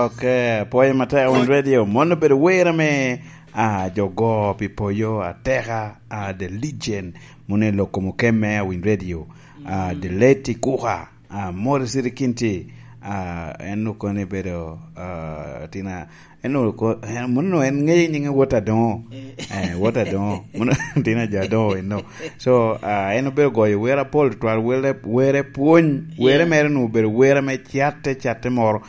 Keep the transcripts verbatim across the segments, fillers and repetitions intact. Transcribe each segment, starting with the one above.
Ok, pwoyo matek Awiny Radio. Mon obedo wer ame, ah, jo go pi poyo ateka, ah, The Legend. Mone lok kom okemme Awiny Radio. Ah, The Late Kuka. Ah, Morris Rikinti. Ah, en okone bedo, ah, tina, en oko-, en, mono en ŋeyo nyinge Wot Adoŋo. Eh, Wot Adoŋo. Mono tina jo Adoŋo eno. So, ah, en obedo goyo wer apol, twal were, were pwony. Were mere nu obedo were me catte, catte moro.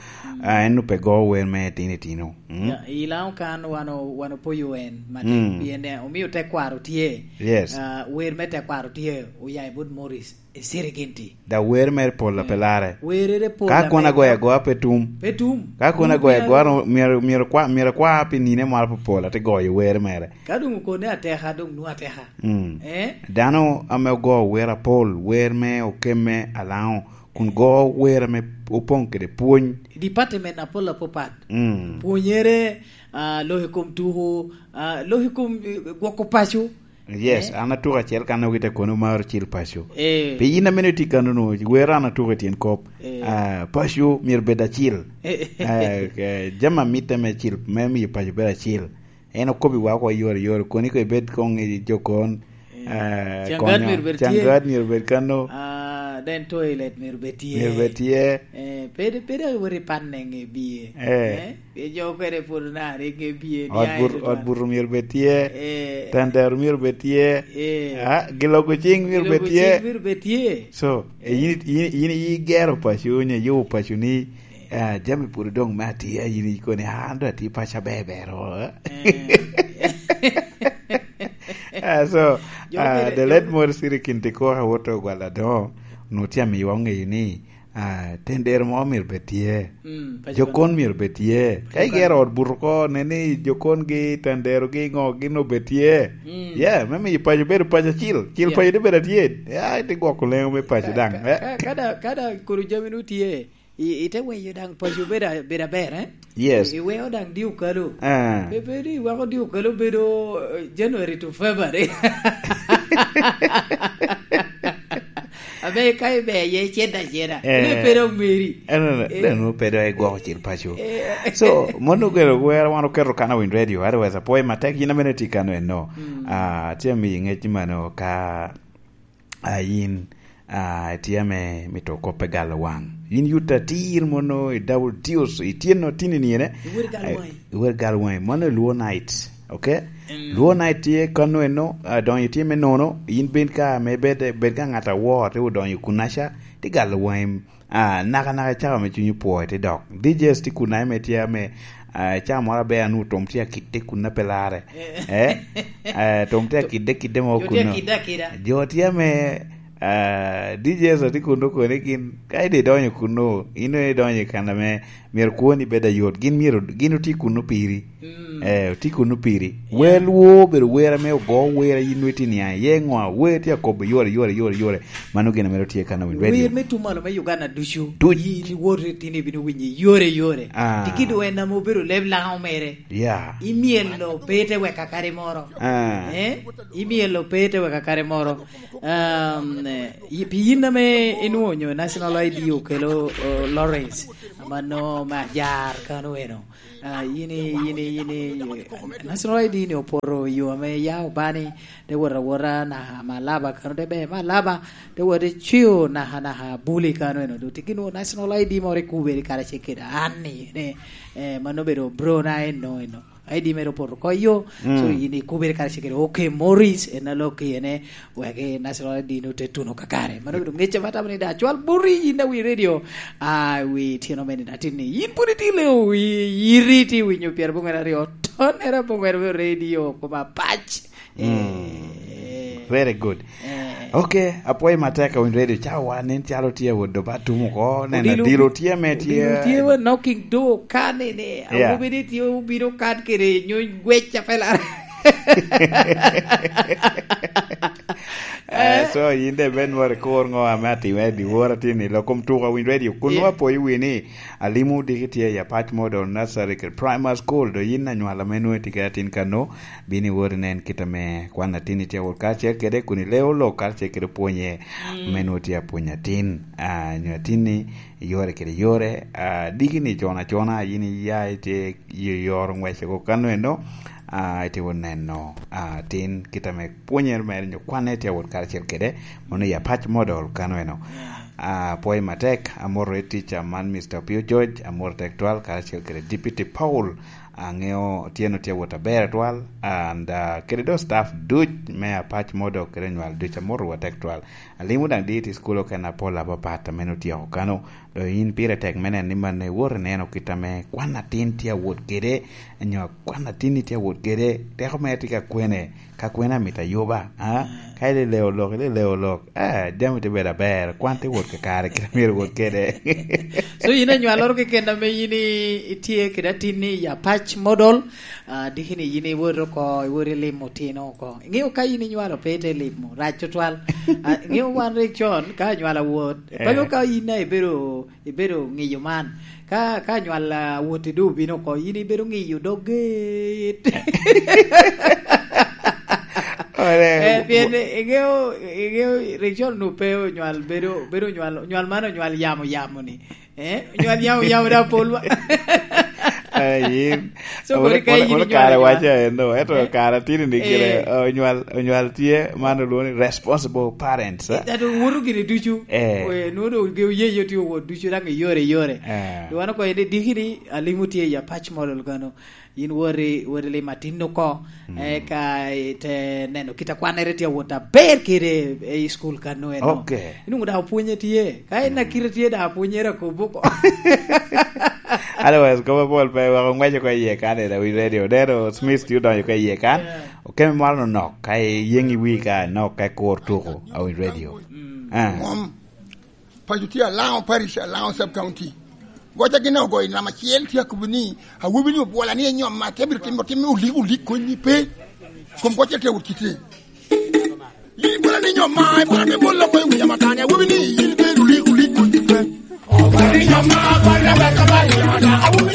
Ah, en ope go wer me tino itino. Mm. Ya, i Laŋo kan wan o-, wan opoyo en matek, Mm. pien, eh, omio tekwaro tye. Yes. Ah, wer me tekwaro tye, oya i bot Morris, i Siriginti. Da wer mere pol a pe larre. Werere pol Ka a kono pe agoyo larre. agoya pe tum. Pe tum. Ka kono Tum agoyo pien agoya ro-, myero, myero kwa, myero kwa pi nine moro apol, ate goyo wer mere. Ka doŋ okone ateka, doŋ nwoŋo ateka. Mm. Eh? Dano ame ogo wer apol, wer me okemme Alaŋo, kun go wer ame opoŋ kede pwony. Department apol apapat. Mm. Pwonyere, ah, lok i kom tuko, ah, lok i kom, eh, gwoko paco. Yes, Eh? an atuko acel kan ogi te kono mar cil paco. Eh. Pi yin amene tye kano no, wer an atuko i tyen kop. Eh. Ah, paco myero bed acil. Eh. Eh, eh, jami amitte me cil, me miyo paco bedo acil. En okobi wa oko yore yore, koni ko ibed kong i jokon. Eh, Eh, Cangat konyo. myero bed tye. Cangat myero bed kano. Ah, then toilet myero bed tye. Myero bed tye. Eh, pede, pede awot i pan nenge bie. Eh. Eh? Pien jo okene pwod onare nge bie, Ot niaye bur-, tutwal. ot buto myero bed tye. Eh. Tandaro myero bed tye. Eh. Ah, giloko cing myero bed Giloko tye. cing myero bed tye. So, eh, yin, yin, yin igero paco, onyo iyubo paco ni, ah, jami pwod odong me atye, yin ikoni, "Ah, an dong atye paco aber ber, oh." Eh. Ah, so, Jo ah, mere, the jo late Morris Irikin Tikoka Woto Ogwal Adongo, onwoŋo tye amiwa oŋeyo ni, ah, tendero mo myero bed tye. Mm, paco Jokon myero bed tye. Ka Jokon. igero ot buto ko, ne ni jokon gi, tendero gi, ŋo, gin obed tye. Mm. Yeah, me miyo paco bedo paco acil. Cil Yeah. paco te bedo atye. Ya, ite gwoko leŋo me paco Ka, daŋ. ka, Eh. ka, ka da, ka da kuru jami nu tye, i, ite weyo daŋ paco bedo a-, bedo aber, eh? Yes. I, iweo daŋ dio kalo. Ah. Pe, pe ni iweko dio kalo bedo, eh, January to February. Abe ka ibe ye ceda ceda. Eh. Ine pe dok meri. Eh, no, no, Eh. no, no, pe dok igwoko cil paco. Eh. So, mon ogero gwero wan oketo kan Awiny Radio, otherwise apwoyo matek, yin amene tye kan eno. Mm. Ah, tye mi ngec mano ka, ah, yin, ah, tye ame mito koppe galo wang. Yin yut atir mono i double deals, itye no tini ni ene. Iwor galo Eh, wangi. iwor galo wangi. Mano i Luo Night, okay? Mm. Luo Night tye kano eno, ah, donyo tye me nono, yin ben ka me bed, bed ka ŋat awor, te odonyo kunaca, te galo wangi, ah, naka naka cako me cunyi pwoyo te dok. D Js tye kun ame tye ame, ah, caa moro aber anu tom tye akidde kun ape larre. Eh? Eh, tom tye akidde kidde mo Jo tye kuno. akidde akida. Jo tye ame, ah, D Js tye kun okone gin, ka ide idonyo kuno, ino idonyo i kan ame myero kwoni bed ayot. Gin myero, gin otye kuno piri. Mm. Eh, otye kuno piri. Yeah. Wer Luo obedo wer ame ogo wer a yin nwe tye niaŋ iye ŋo, wer tye akobo yore, yore, yore, yore. Mano gin ame tye kan Awiny Radio. Wer me tum malo me Uganda ducu. Duc. Yin iwot itino ibino winyo yore, yore. Ah. Tikido en ame obedo leb Laŋo mere. Yeah. Imyelo pe te weka kare moro. Ah. Eh? Imyelo pe te weka kare moro. Um, eh, yi-, pi yin ame inwoŋo National I D okelo, oh, Lawrence, amano me ajar kano eno. Ah, yin i, yin i, yin i, National I D ni opoto i yo ame ya obani, te wot awota naka Malaba kano, te be Malaba, te wot i Cwio naka, naka Buli kano eno. Doŋ tye gin National I D moro i Kuberi karacel kede an ni, ne, eh, mano obedo bro na eno, eno. I D mere opoto oko yo, Mm. so yin i Kuberi karacel kede, okay, Morris, en a lok i ene, wek i National I D no te tuno kakare. Mano obedo ŋec ame atamo ni da cwal boti yin a wi radio. Ah, wi tyeno mene na tin ni yin pwod itye leŋo wi iri tye winyo pyerabongwen aryo. Tonere abongwen me radio koma pac. Mm. Eh. Very good. Eh. Okay, apwoyo matek Awiny Radio. Cawa nen calo tye awot doba tum oko. Nen Odilo, adilo tye me tye. Odilo tye wa knocking door kan ene. Yeah. Awobi ni tye obino kan kede nyo gwec a pela. Eh, so yin de ben wari kur ngo ame atimere di wor atin i lok kom tuko Winy Radio. Kun Yeah. Wa poyo wi ni alimo diki tye i Apac Model Nursery kede Primary School, do yin anywala me nwe tye kede atin kano, bini wori nen kit ame kwan atin itye awot karacel kede kun ileo lok karacel kede pwonye Mm. me nwe tye apwony atin. Ah, nyo atin ni yore kede yore, ah, diki ni cona cona, yin iya itye i yoro ngwece ko kano eno, ah, itye wot neno, ah, tin kit ame pwonyere mere nyo kwanne tye awot karacel kede, mono i Apac Model kano eno. Ah, pwoyo matek, amoro i tica man, Mister Opio George, amoro tek twal, karacel kede Deputy Paul, aŋeo tyen otye awot aber twal, and, ah, kede do staff duc me Apac Model kede nywal duc amoro wa tek twal. Alimo daŋ dit i school okene apol apapat ame otyeko kano. Do yin pire tek me neno ni man iwot ineno kit ame kwan atin tye awot kede, nyo kwan atin tye awot kede, teko mere tye ka kwene, ka kwene amito ayuba, a? Ka ileleo lok, ileleo lok, a, jami tye bedo aber, kwan tye wot kakare kit amyero wot kede. So, yin anywaloro keken ame yin i-, itye kede atin ni i Apac Model, a, diki ni yin iwot oko, iwot ilimo otino oko. Iŋeo ka yin inywalo pe ite limo, rac tutwal. A, iŋeo wan rik con, ka anywala wot, Eh. Pano ka yin a ibedo, ibedo ŋiyo man. Ka, ka anywal, a, wot i do obino oko, yin ibedo ŋiyo dog get. Ore, Eh, pien iŋeo, iŋeo rik con nu pe onywal bedo, bedo nywal, nywal man onywal yamo yamo ni. Eh, nywal yamo yamo da pol wa. Eh, yin. So, Ore, kodi ka ore, yin ore inywal kare nywal. Waco eno, eto Eh? kare atiri ni gire, Eh. eh, onywal, onywal tye, man olwongo ni responsible parents, eh? That woto gini ducu. Eh. Eh, nwodo ge oye yo tye wot ducu daŋ i yore, i yore. Eh. Wan oko ene diki ni alimo tye i Apac Model kano. Yin wori, wori limo atin oko. Mm. Eh, ka ite neno kit a kwannere tye awot aber kede i school kano eno. Ok. Inwoŋo daŋ opwonye tye. Ka en Mm. akite tye daŋ opwonyere akobo oko. Otherwise, kop apol pe wek oŋwec oko iye kan i Winy Radio. Dero Smith tye odonyo oko iye kan. Yeah. Okeme moro nonok, ka iyeŋ i wi ka nok ka kur tuko, a Winy Radio. Mm. Ah. Mom. Paco tye Alaŋo Parish, Alaŋo Sub County. Goca gin ogoyo namba acel, tye akobo ni, "Awobi ni obwola ni enyoma, te biro timo, timo olik, olik koni pe." Kom goca tye wot kite. Yin ibwola ni enyoma, ibwola ni bolo ko i wiya matani, awobi ni yin ibedo olik, olik koni pe. Obwola ni enyoma, obwola ni enyoma, awobi